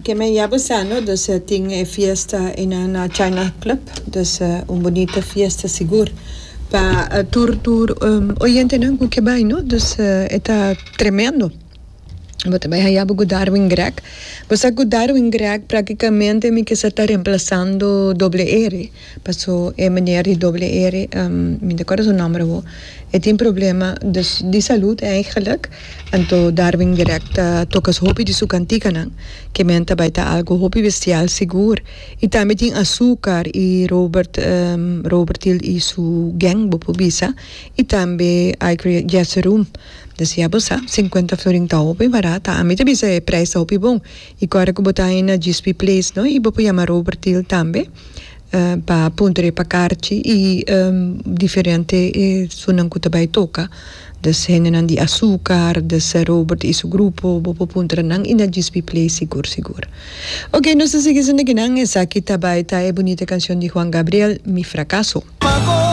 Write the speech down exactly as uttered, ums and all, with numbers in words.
Ke men ya bo sa no, dus tin e fiesta einan na China Club, dus un bunita fiesta sigur pa tur tur oyentenan ku ke bai no, dus e ta tremendo. Bo ta bai haya bo ku Darwin Greg. Bo sa ku Darwin Greg praktikamente mi kisa ta remplasando Doble R, paso e meneer di Doble R, mi no ta kòrda su nòmber awor, e tin problema dus di salud eigenlijk, anto Darwin Greg ta toka hopi di su kantikanan, ke men ta bai ta algu hopi bestial sigur. I tambe tin Azúcar i Robert Robert Hill i su gang bo por bisa, i tambe Ivory Jazz Room. Dus ya bo sa, sinkuenta florin ta hopi barata. Ami ta bisa e prijs ta hopi bon. I kòrda ku bo ta haña na G S P Place no, i bo por yama Robert Hill tambe pa puntra pa karchi i diferente esunnan ku ta bai toka. Dus hendenan di Azúcar, dus Robert i su grupo, bo por puntra nan i na G S P Place sigur sigur. Ok, nos ta sigui esaki nan, esaki ta bai ta e bunita kanshon di Juan Gabriel, "Mi Fracaso". Pagó.